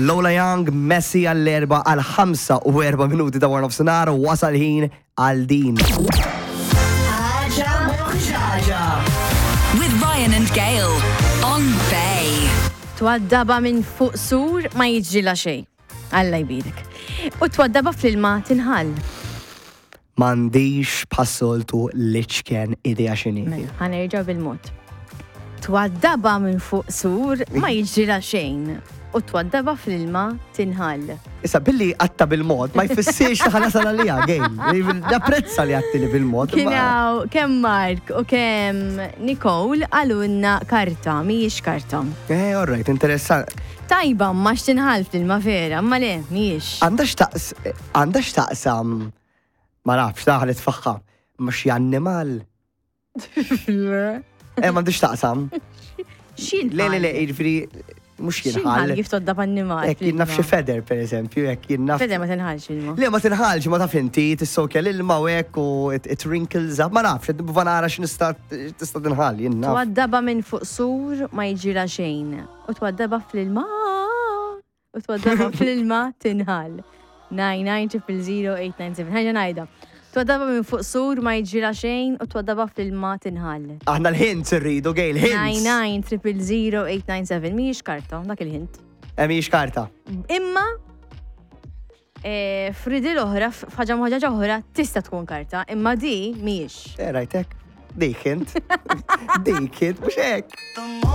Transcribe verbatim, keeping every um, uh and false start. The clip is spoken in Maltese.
Lola Young, Messi għall-erba għal ħamsa u erba minuti ta' wara nofsinhar u wasal ħin għal din. Ħaġa Moħġaġa. With Ryan and Gail on Bay. Twaddaba minn fuq sur ma jiġrilha xejn. Alla jbirek. U twaddaba fl-ilma tinħall. M'għandix bħas-soltu l-iċken idea x'inhi. Mela, ħa nerġa' bil-mod. Twaddaba minn fuq sur ma jiġrilha xejn. U twaddaba fl-ilma tinħall. Issa, billi għedtha bil-mod, ma jfissirx li ħa nasal għaliha, Gail. Napprezza li għedtli bil-mod. Kien ma- hawn kemm Mark u kemm Nicole qalulna karta, mhijiex karta. Eh, all right, interessant. Tajba, ma x'tinħall fl-ilma vera, ma le, mhijiex. Għandha x'taqs, għandha x'taqsam, ma nafx, daħlet faħħa, ma xi annimal. Eh, m'għandux taqsam. X'inħall? Le, le, le, jiġifieri, mhux X'inħall jinħall. kif tgħoddha annimal? Jekk jien naf xi feather, per eżempju, jekk jien naf. Feather ma tinħallx ilma. Le, ma tinħallx, ma taf inti, tissokja l-ilma u hekk u it, it wrinkles up. Ma nafx, nipprova nara x'nista' tista' tinħall, jien naf. Twaddaba minn fuq sur ma jiġrilha xejn. U twaddaba fl-ilma. U twaddaba fl-ilma tinħall. nine nine zero zero eight nine seven. Ħa ngħidha. Twaddaba minn fuq sur ma jiġrilha xejn u twaddaba fl-ilma tinħall. Aħna l-hints irridu, Gail, hints. nine nine zero zero eight nine seven. Mhijiex karta, dak il-hint. Eh, mhijiex karta. Imma eh, f'riddle oħra, f'ħaġa ħaġa oħra tista' tkun karta, imma di mhijiex. Eh, rajtek. Dik hint. Dik hint, mhux hekk.